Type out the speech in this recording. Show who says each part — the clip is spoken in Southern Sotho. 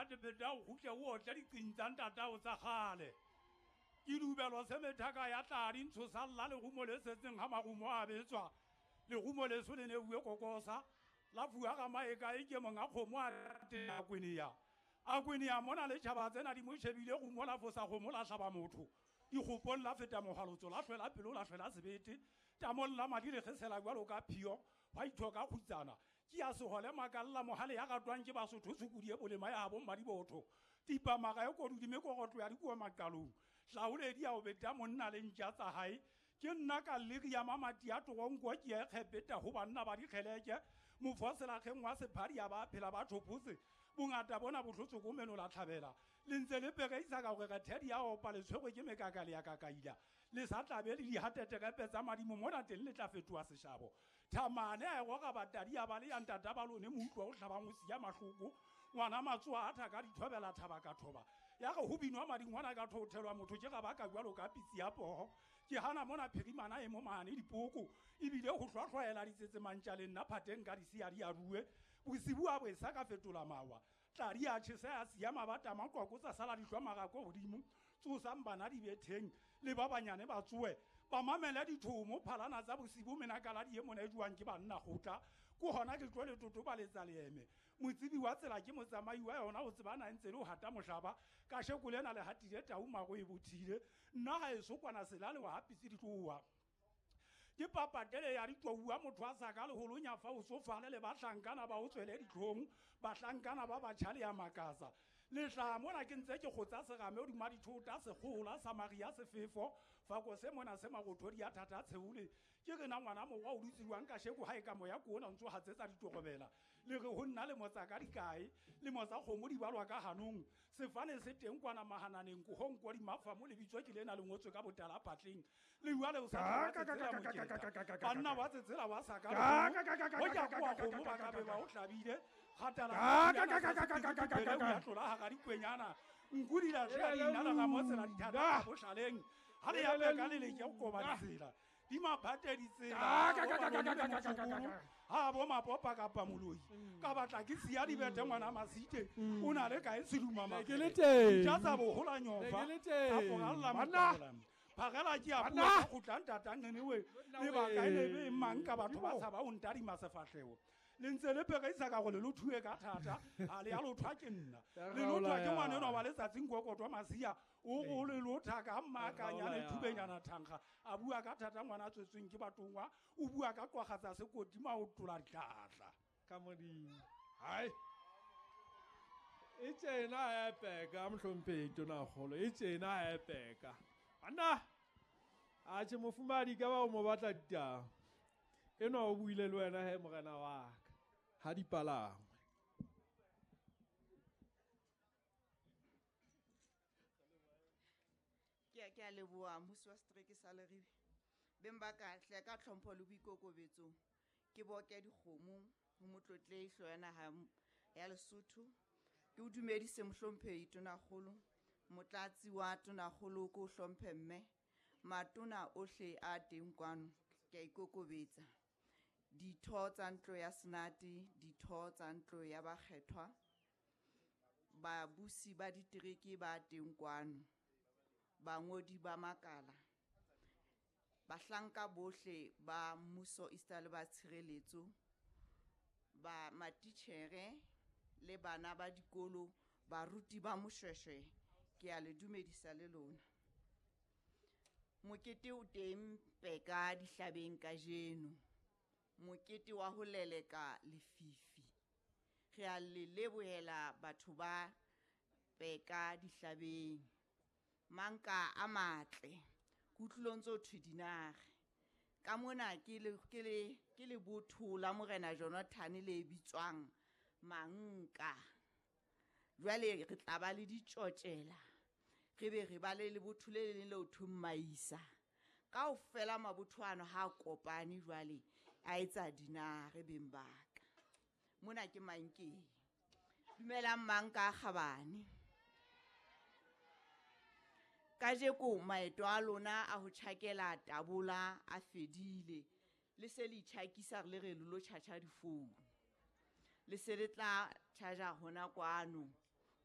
Speaker 1: Phethapheta o kgutle o otle diqing tsa ntatao tsa kgale. Ke dubelo se methaka ya tladi ntshosa lla lerumo le setseng ha marumo a betswa. Lerumo leso le ne bue kokosa la fuwa ga maeka e ke monga kgomo a te a kwenea. A kwenea mona le tjhaba tsena di mo shebile rumo la fosa kgomo la hlaba motho. Dikgopong la feta mogalotso la hlwela pelo la hlwela sebete. Tamong la madi le kgesela jwalo ka phio ba ithoka kgutsana. Ke ya sehole makalla mohale ya ratwang ke Basotho tshukudi e bolema ya habo Mmadibotho. Tipa maga e kodudime korotlo ya dikuwa maqalong. Hlaoledi ya o beta monna le ntja tsa hae. Ke nna ka lere ya mamati ya toronko ke ya kgepeta ho banna ba dikgeleke. Mofoselakgeng wa sephadi ya ba phela ba thopotse. Bongata bona bo hlotse ko meno la tlhabela. Le ntse le pereisa ka hore re thedi ya opa le tshwerwe ke mekaka le ya kakaila. Le sa tlabe le dihateterepe tsa madimo mona teng le tla fetoha seshabo. Thamane a e roka batadi ya ba le ya ntata ba lone moutlwa o hlabang o siya mahloko. Ngwana matsoa a thaka dithobela thaba ka thoba. Ya re ho binwa madingwana ka thothelwa motho ke ga ba ka jwalo ka pitsi ya poho. Ke hana mona phirimana e mo mane dipoko ebile ho hlwahlwaela ditsetse mantja le nna phateng ka disia di a rue. Bosibu a bo sa ka fetola mawa. Tladi a tjhesa ya siya mabata maqwako tsa sala dihlwa marako hodimo. Tsosang bana di betheng le ba banyane ba tsoe. Ba mamele dithomo phalana tsa bosibu menakala di e mona e jwang ke banna kgotla. Ko hona ke tlo le totobaletsa leeme. Motsibi wa tsela ke motsamai wa yona o tsebana ntse le ho hata mohlaba. Ka sheko lena le hatile tau maro e bothile. Nna ha eso kwana sela le wa hapitse ditloa. Ke papatele ya ditouwa motho a sa ka leholonya fa o tsofale le bahlankana ba o tswele ditlhong, bahlankana ba batjha le ya makatsa. Le tla mona ke ntse ke kgotsa serame hodima dithota sekgola Samaria sefefo fako se mona se marothodi ya thata tsheole. Ke re na ngwana morwa o dutse jwang ka sheko ha e ka moya ko ona ntso hatsetsa ditorobela. Le re ho nna le motsa ka dikae le motsa kgomo di balwa ka hanong. Sefane se teng kwana mahananeng ko honko di mafa mo le bitswa ke lena le ngotswe ka botala phatleng. Le jwale o sa banna ba tsetsela ba sa ka ho ja kwa kgomo ba ka be ba o hlabile kgatala ya tlola hara dikwenyana nku di la tla dinala ga motsela dithata bo hlaleng ha le ya peka le leke go koba ditsela di maphate ditsela ha bo mapopa kapa moloi ka batla ke siya dibete ngwana Masite o na le kae seduma
Speaker 2: ke le teng
Speaker 1: ja tsa bohola nyofa ka poralla mokola phagela ke a bua go tla ntatang anyway le ba kae le be mang ka batho ba tshaba o ntadima sefahleho. Le ntse le pereisa ka gore le thue ka thata ha le ya lothwa ke nna le lothwa ke ngwana enwa wa letsatsing kokotwa Masia o go le lotha ka mmakanya le thubenyana thankga a bua ka thata ngwana a tswetsweng ke batongwa o bua ka qwagatsa sekoti maotola ditlatla
Speaker 2: ka modimo. Hai e tsena e peka mohlomphehi tonakgolo e tsena e peka banna a tjhe mofumadi ka ba o mo batla ditaba enwa o buile le wena he morena wa ka ha di palangwe.
Speaker 3: Ke a leboha mmusi wa setereke sa Leribe. Beng ba ka hle ka tlhompho le boikokobetso ke boke dikgomo ho motlotlehi hlooho ya naha ya Lesotho. Ke o dumedise mohlomphehi tonakgolo, motlatsi wa tonakgolo ko hlomphe mme matona ohle a teng kwano ke a ikokobetsa. Ditho tsa ntlo ya Senate, ditho tsa ntlo ya bakgethwa, babusi ba ditereke ba teng kwano, bangodi ba makala, bahlanka bohle ba mmuso esita le ba tshireletso, ba matitjhere le bana ba dikolo, baruti ba Moshweshwe, ke a le dumedisa le lona. Mokete o teng peka dihlabeng kajeno, mokete wa ho leleka lefifi. Re a le lebohela batho ba peka dihlabeng. Manka a matle, kutlong tso thwe dinare. Ka mona ke le botho la morena Jonathan le bitswang Manka. Jwale re tla ba le ditjotjela, re be re ba le lebotho le leng le o thweng Maisa. Kaofela mabotho ano ha kopane jwale a etsa dinare beng ba ka. Mona ke Mankeng. Dumelang Manka a kgabane. Kajeko maeto a lona a ho tjhakela tabola a fedile. Le se le itjhakisa re le re lo tjhatjha difounu. Le se le tla tjhaja hona kwano.